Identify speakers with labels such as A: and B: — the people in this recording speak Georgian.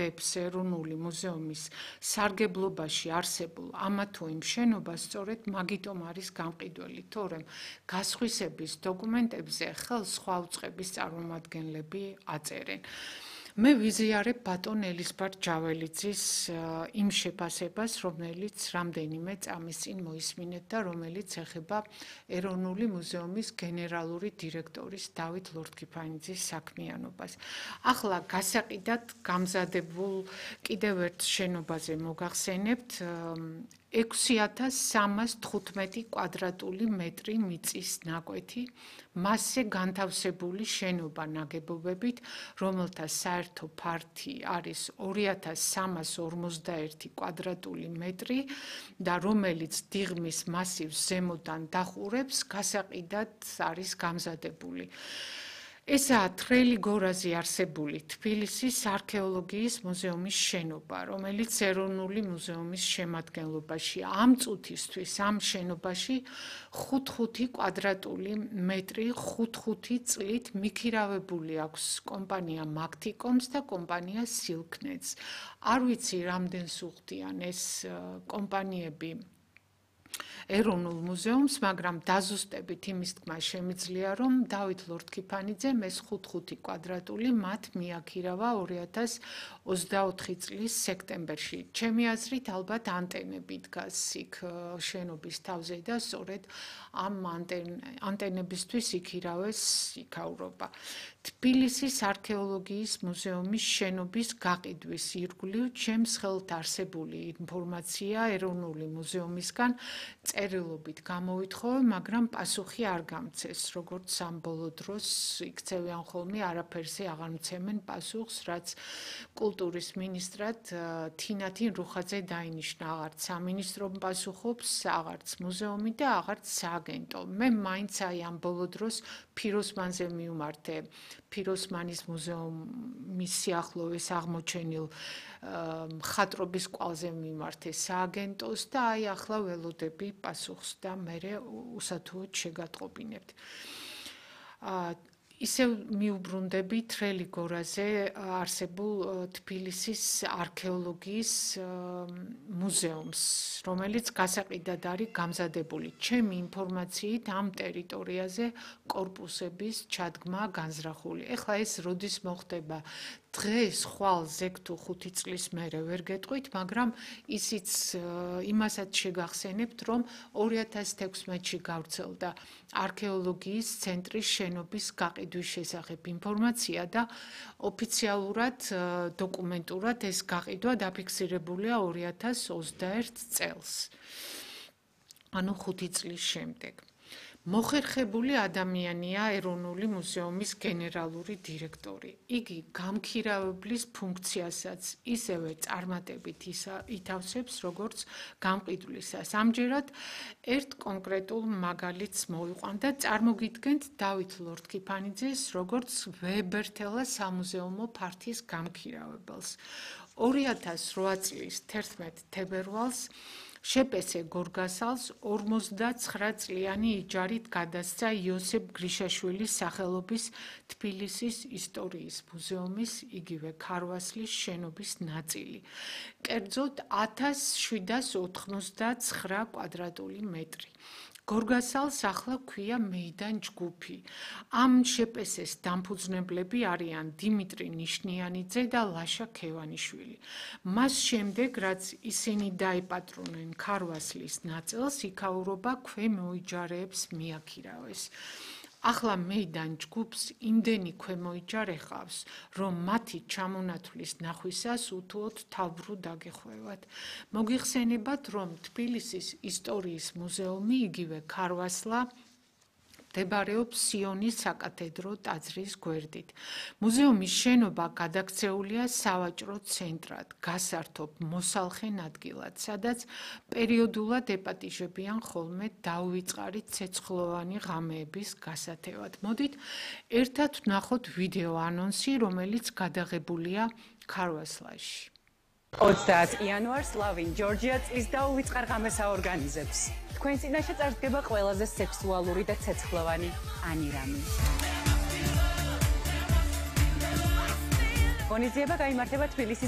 A: დებს ეროვნული მუზეუმის სარგებლობაში არსებულ ამა თუ იმ შენობას სწორედ მაგიტომ არის გამყიდველი, თორემ გასხვისების დოკუმენტებზე ხელს სხვა უწყების წარმომადგენლები აწერენ. მე ვიზიარებ ბატონ ელისბარ ჯაველიძის იმ შეფასებას, რომელიც რამდენიმე წამის წინ მოისმინეთ და რომელიც ეხება ეროვნული მუზეუმის გენერალური დირექტორის დავით ლორთქიფანიძის საქმიანობას. ახლა გასაყიდად გამზადებულ კიდევ ერთ შენობაზე მოგახსენებთ 6315 კვადრატული მეტრი მიწის ნაკვეთი, მასზე განთავსებული შენობა ნაგებობებით, რომელთა საერთო ფართი არის 2351 კვადრატული მეტრი და რომელიც დიღმის მასივს ზემოდან დახურებს, გასაყიდად არის გამზადებული. ესაა თრელი გორაზე არსებული თბილისის არქეოლოგიის მუზეუმის შენობა, რომელიც ეროვნული მუზეუმის შემადგენლობაში ამ წუთისთვის ამ შენობაში 5 კვადრატული მეტრი 5 წლით მიქირავებული აქვს კომპანია მაგთიკომს და კომპანია სილკნეტს. არ ვიცი რამდენს უხდიან ეს კომპანიები ეროვნულ მუზეუმს, მაგრამ დაზუსტებით იმის თქმა შემიძლია, რომ დავით ლორთქიფანიძემ ეს 5 კვადრატული მათ მიაქირავა 2024 წლის სექტემბერში. ჩემი აზრით, ალბათ ანტენები დგას იქ შენობის თავზე და სწორედ ამ ანტენებისთვის იქირავეს იქაურობა. თბილისის არქეოლოგიის მუზეუმის შენობის გაყიდვის ირგვლივ ჩემს ხელთ არსებული ინფორმაცია ეროვნული მუზეუმისგან წერილობით გამოვითხოვე, მაგრამ პასუხი არ გამცეს, როგორც ამ ბოლო დროს იქცევიან ხოლმე, არაფერზე აღარ მცემენ პასუხს, რაც კულტურის მინისტრად თინათინ რუხაძე დაინიშნა, აღარც სამინისტრო პასუხობს, აღარც მუზეუმი და აღარც სააგენტო. მე მაინც ამ ბოლო დროს ფიროსმანზე მივმართე, ფიროსმანის მუზეუმის სიახლოვეს აღმოჩენილ მხატვრობის კვალზე მიმართე სააგენტოს და ახლა ველოდები პასუხს და მე უსათუოდ შეგატყობინებთ. ისევ მიუბრუნდები თრელი გორაზე არსებულ თბილისის არქეოლოგიის მუზეუმს, რომელიც გასაყიდად არის გამზადებული. ჩემი ინფორმაციით ამ ტერიტორიაზე კორპუსების ჩადგმა განზრახული. ეხლა ეს როდის მოხდება? დღეს ხვალ 6 თუ 5 წლის მერე ვერ გეტყვით, მაგრამ ისიც იმასაც შეგახსენებთ, რომ 2016-ში გავრცელდა არქეოლოგიის ცენტრის შენობის გაყიდვის შესახებ ინფორმაცია და ოფიციალურად დოკუმენტურად ეს გაყიდვა დაფიქსირებულია 2021 წელს. ანუ 5 წლის შემდეგ. მოხერხებული ადამიანია ეროვნული მუზეუმის გენერალური დირექტორი. იგი გამქირავებლის ფუნქციასაც ისევე წარმატებით ითავსებს, როგორც გამყიდვლისას. ამჯერად ერთ კონკრეტულ მაგალითს მოვიყვან და წარმოგიდგენთ დავით ლორთქიფანიძეს, როგორც ვებერთელა სამუზეუმო ფართის გამქირავებელს. 2008 წლის 11 თებერვალს შეპესე გორგასალს 59 წლიანი იჯარით გადასცა იოსებ გრიშაშვილის სახელობის თბილისის ისტორიის მუზეუმის იგივე ქარვასლის შენობის ნაწილი. კერძოდ 1799 კვადრატული მეტრი. გორგასალს ახლა ქვია მეიდან ჯგუფი. ამ შეპესეს დამფუძნებლები არიან დიმიტრი ნიშნიანიძე და ლაშა ქევანიშვილი. მას შემდეგ, რაც ისინი დაიპატრონენ ქარვასლის ნაწილს, იქაურობა ქვემოიჯარეებს მიაქირავეს. ახლა მეიდან ჯგუფს იმდენი ქვემოიჯარე ყავს, რომ მათი ჩამონათვლის ნახვისას უთუოდ თავბრუ დაგეხვევათ. მოგიხსენებათ, რომ თბილისის ისტორიის მუზეუმი იგივე ქარვასლა მდებარეობს სიონის საკათედრო ტაძრის გვერდით. მუზეუმის შენობა გადაქცეულია სავაჭრო ცენტრად, გასართობ მოსალხენ ადგილად, სადაც პერიოდულად ეპატიჟებიან ხოლმე დაუვიწყარი ცეცხლოვანი ღამეების გასათევად. მოდით ერთად ვნახოთ ვიდეო ანონსი, რომელიც გადაღებულია ქარვასლაში.
B: 30 იანვარს ლავინ ჯორჯია წლის დაუვიწყარ ღამეს აორგანიზებს. თქვენ წინაშე წარსდგება ყველაზე სექსუალური და ცეცხლოვანი ანირამი. ღონისძიება გაიმართება თბილისის